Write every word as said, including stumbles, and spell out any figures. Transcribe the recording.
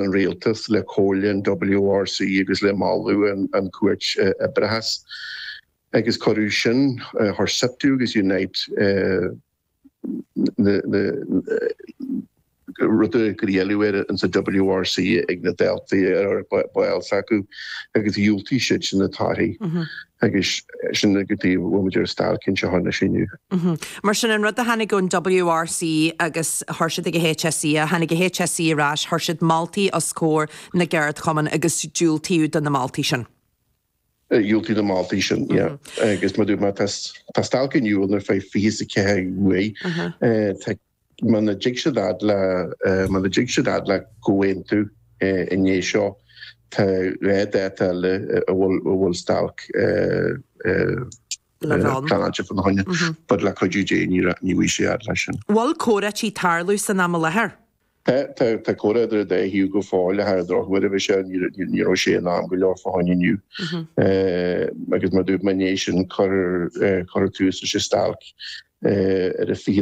an rialtas le comhairle an W R C agus le moladh an, an Chúirt Oibreachais agus cuireadh sin thar SIPTU agus Unite na rudaí go dhéanamh an sa W R C ag na daltaí ar baill acu agus dhiúltaigh siad sin na torthaí agus sin go dtí bhfuil stailc seo na sinú. Mar sin an rud a tháinig ón W R C agus chuir siad ag an H S E, tháinig an H S E ar ais, chuir siad moltaí os comhair na gceardchumann agus diúltaíodh do na moltaí sin. Dhiúltaigh na moltaí sin agus mar má tá stailc inniu ar feadh fiche ceathair uair muna dtig siad fhad le muna dtig siad fhad le comhaontú inné seo, tá dhá dáta eile a bhfuil stailc pleanáilte fána choinne, but le cuidiú Dé ní bhí sé fhad leis sin. Bhfuil comhráití ag tarlú san am i láthair? Tá comhrá idir dá thaobh go fóill ar drochuair bhí sé ní raibh sé in am go leor fá choinne inniu. Agus mar dúirt mé sin chur chur tús leis stailc ar a fiche